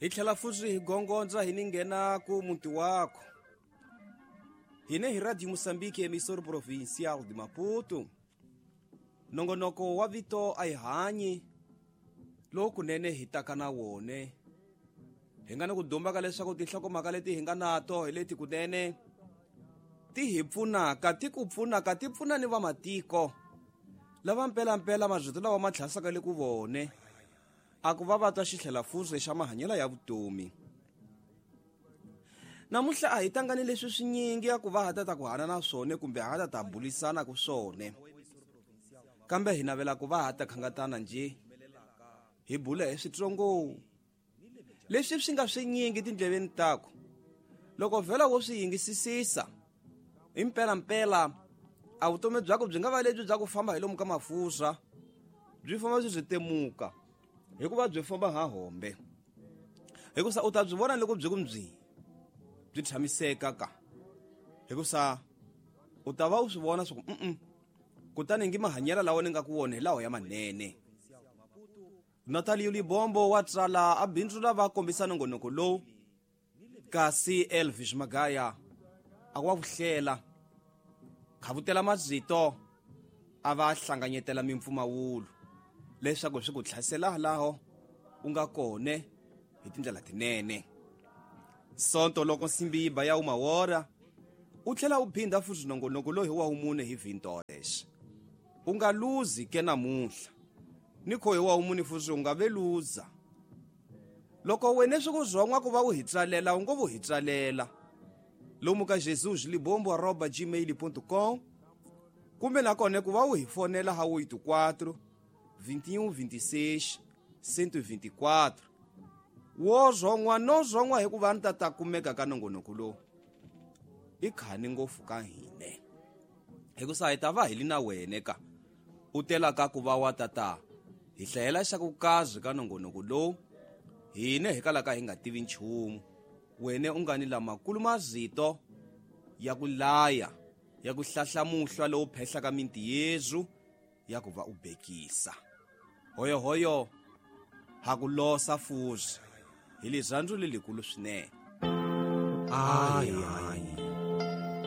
Hi tlhela futhi hi gongondza hi ni nghena ku muti wakho. Hine hi Radio Moçambique, emissora provincial de Maputo. Nongonoko wa vito a hi hanyi lowu kunene hi taka na wone. Hi nga ni ku dumba ka leswaku tinhlokomhaka leti hi nga nato hi leti kunene ti hi pfunaka, ti ku pfunaka, ti pfuna ni vamatiko lava mpelampela marito lawa ma tlhasaka le ku vone a ku va va twa xitlhela-fuze xa mahanyelo ya vutomi. Namuntlha a hi tangani leswi swinyingi ya ku va ha ta ta ku hana na swone kumbe ha ta ta bulisana ku swone, kambe hi navela ku va ha ta khangatana nje hi bula hi switsongo leswi swi nga swinyingi tindleveni taku. Loko vhela wo swi yingisisisa hi mpelampela, a vutomi byako byi nga va lebyi bya ku famba hi lomu ka mafurha, byi famba byi byi temuka hikuva byi famba ha hombe, hikusa u ta byi vona loko byi ku byi byi tshamiseka ka, hikusa u ta va u swi vona swa ku kutani ngi mahanyelo lawa ni nga ku wona hi lawa ya manene. Natalio Libombo wa tsala a bindzu lava kombisa nongonoko lowu, kasi Elvis Magaya a wa vuhlela khavutela mazito a va hlanganyetela mimpfumawulo leswaku swi ku tlhasela laho u nga kone hi tindlela tinene. Sonto loko nsimbi yi ba ya umawora u tlhela u phindha futhi nongonoko lowu hi wa wumune hi vintores. U nga luzi ke namuntlha ni kho hi wa wumune futhi u nga ve luza. Loko wena swi ku zwon'wa ku va u hi tsalela, u ngo vu hi tsalela lomu ka jesus libombo arroba gmail ponto com, kumbe nakona ku va u hi fonela ha 84 21 26 124. Wo zwon'wa no zwon'wa hikuva ni ta ta kumeka ka nongonoko lowu i khani ngopfu ka hine, hikusa hi ta va hi li na wene ka u telaka ku va wa tata hi hlayela xa ku kazi ka nongonoko lowu hine hi kalaka hi nga tivi nchumu. Wene u nga ni lamakulu mazito ya ku laya, ya ku hlahla muhlwa lowu phehlaka minti yezu ya ku va u bekisa. Hoyohoyo ha ku losa fuzi hi lirhandzu lelikulu swinene. Ai, ai.